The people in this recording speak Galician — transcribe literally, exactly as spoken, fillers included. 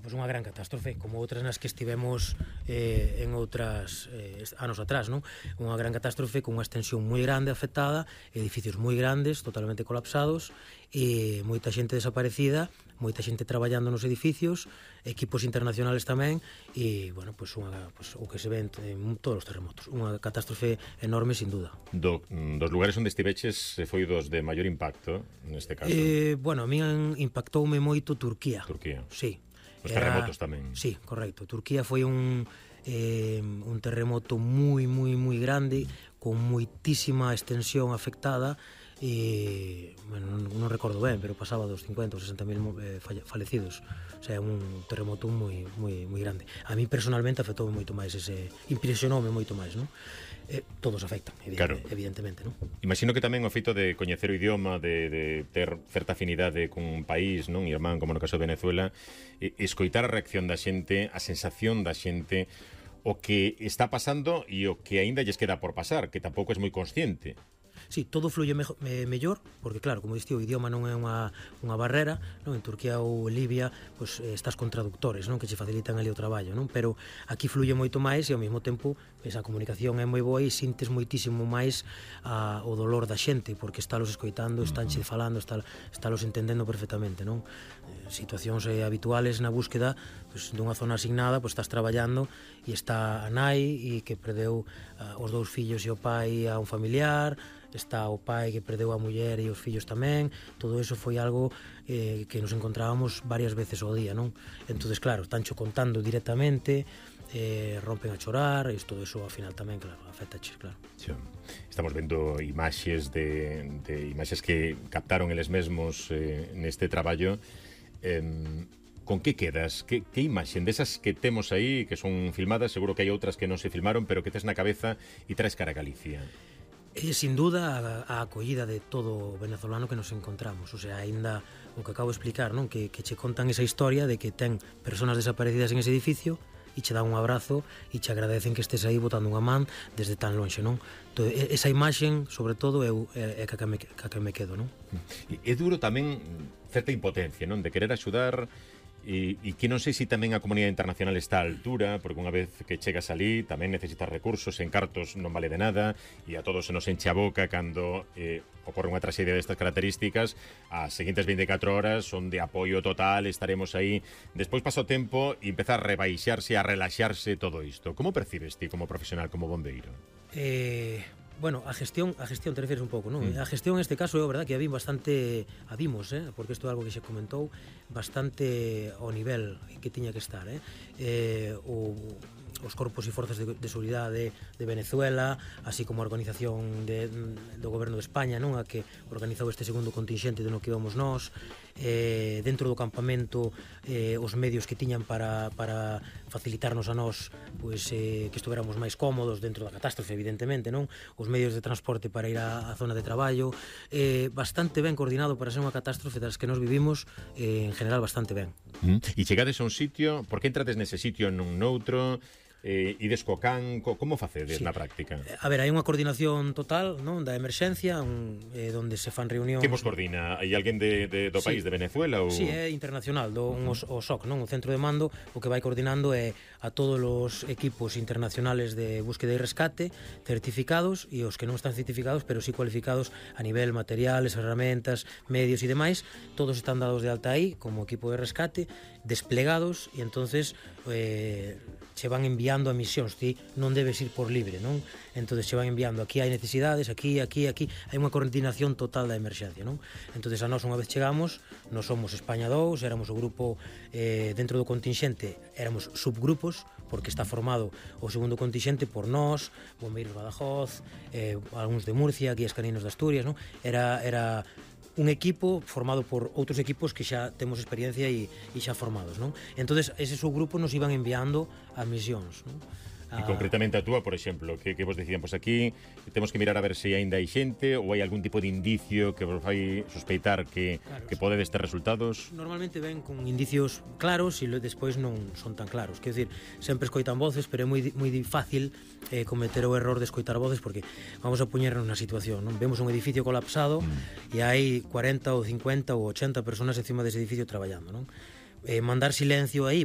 pois unha gran catástrofe, como outras nas que estivemos eh, en outras eh, anos atrás, non? Unha gran catástrofe con unha extensión moi grande afectada, edificios moi grandes, totalmente colapsados, e moita xente desaparecida, moita xente traballando nos edificios, equipos internacionales tamén, e, bueno, pois unha, pois, o que se ve en todos os terremotos, unha catástrofe enorme, sin duda. Do, dos lugares onde estiveches foi dos de maior impacto, neste caso? Eh, bueno, a mí impactoume moito Turquía. Turquía. Sí. Os terremotos tamén. Sí, correcto. Turquía foi un eh, un terremoto moi, moi, moi grande, con moitísima extensión afectada, e, bueno, non, non recordo ben, pero pasaba dos cincuenta ou sesenta mil eh, fallecidos. O sea, un terremoto moi, moi, moi grande. A mí personalmente afectou moito máis ese, impresionoume moito máis, non? Eh, todos afectan, evidente, claro. Evidentemente, non? Imagino que tamén o feito de coñecer o idioma, de, de ter certa afinidade con un país, non, irmán, como no caso de Venezuela, e, escoitar a reacción da xente, a sensación da xente, o que está pasando e o que aínda lles queda por pasar, que tampouco é moi consciente. Sí, todo fluye me, me, mellor, porque claro, como diste, o idioma non é unha, unha barrera, non? En Turquía ou Libia, pois, eh, estás con traductores, non? Que che facilitan ali o traballo, non? Pero aquí fluye moito máis e ao mesmo tempo esa comunicación é moi boa e sintes moitísimo máis a, o dolor da xente, porque estálos escoitando, estánche falando, está, estálos entendendo perfectamente, non? Eh, situacións eh, habituales na búsqueda, pois, dunha zona asignada, pois estás traballando e está a nai e que perdeu uh, os dous fillos e o pai a un familiar, está o pai que perdeu a muller e os fillos tamén. Todo eso foi algo eh, que nos encontrábamos varias veces ao día, non? Entonces, claro, estáncho contando directamente, eh, rompen a chorar, e todo eso ao final tamén, claro, afectaches, claro. Sí. Estamos vendo imaxes de, de imaxes que captaron eles mesmos eh, neste traballo. Eh, con que quedas? Que, que imaxen desas que temos aí, que son filmadas, seguro que hai outras que non se filmaron, pero que tes na cabeza e traes cara a Galicia? É, sin duda, a, a acollida de todo o venezolano que nos encontramos. O sea, aínda o que acabo de explicar, non? Que, que che contan esa historia de que ten personas desaparecidas en ese edificio e che dan un abrazo e che agradecen que estés aí botando unha man desde tan lonxe, non? Entón, esa imaxen, sobre todo, é, é, é que, me, que me quedo, non? É duro tamén certa impotencia, non? De querer axudar. E, e que non sei se tamén a comunidade internacional está á altura, porque unha vez que chegas ali tamén necesitas recursos, en cartos non vale de nada, e a todos se nos enche a boca cando eh, ocorre unha traxedia destas características. As seguintes veinticuatro horas son de apoio total, estaremos aí. Despois pasa o tempo e empeza a rebaixarse, a relaxarse todo isto. Como percibes ti como profesional, como bombeiro? Eh... Bueno, a gestión, a gestión te refieres un pouco, non? Mm. A gestión neste caso é verdad que a vin bastante, a vimos, eh? Porque isto é algo que se comentou, bastante ao nivel que tiña que estar, eh? eh o os corpos e forzas de, de seguridade de Venezuela, así como a organización de, do goberno de España, non, a que organizou este segundo contingente de no que íbamos nós, eh, dentro do campamento, eh, os medios que tiñan para, para facilitarnos a nós, pois, eh, que estuveramos máis cómodos dentro da catástrofe, evidentemente, non? Os medios de transporte para ir á, á zona de traballo, eh, bastante ben coordinado para ser unha catástrofe das que nos vivimos, eh, en general bastante ben. Mm. E chegades a un sitio, por que entrades nese sitio e non noutro? Eh, ides co can, co, como facedes sí. na práctica? A ver, hai unha coordinación total, non, da emerxencia, un, eh, donde se fan reunións. Que vos coordina? Hai alguén de, de, do sí. país, de Venezuela? Ou... Sí, é internacional, do, un, uh -huh. o S O C, non, o centro de mando, o que vai coordinando é a todos os equipos internacionales de búsqueda e rescate, certificados, e os que non están certificados, pero sí cualificados a nivel materiales, herramientas, medios e demais, todos están dados de alta aí, como equipo de rescate, desplegados, e entonces eh, se van enviando a misións, ti non debes ir por libre, non? Entonces se van enviando, aquí hai necesidades, aquí, aquí, aquí, hai unha coordinación total da emerxencia, non? Entonces a nós unha vez chegamos, nós somos España dous, éramos o grupo eh, dentro do contingente, éramos subgrupos, porque está formado o segundo contingente por nós, Bombeiros Badajoz, eh, algúns de Murcia, Guías Caninos de Asturias, non? Era, era un equipo formado por outros equipos que xa temos experiencia e, e xa formados, non? Entonces, ese subgrupo nos iban enviando a misións, non? E concretamente a túa, por exemplo, que, que vos decían, pois aquí temos que mirar a ver se aínda hai xente ou hai algún tipo de indicio que vos fai sospeitar que, claro, que podedes ter resultados? Normalmente ven con indicios claros e despois non son tan claros. Quer dizer, sempre escoitan voces, pero é moi, moi fácil eh, cometer o error de escoitar voces, porque vamos a poñernos na situación, non? Vemos un edificio colapsado mm. e hai cuarenta ou cincuenta ou ochenta personas encima dese edificio traballando, non? Eh, mandar silencio aí,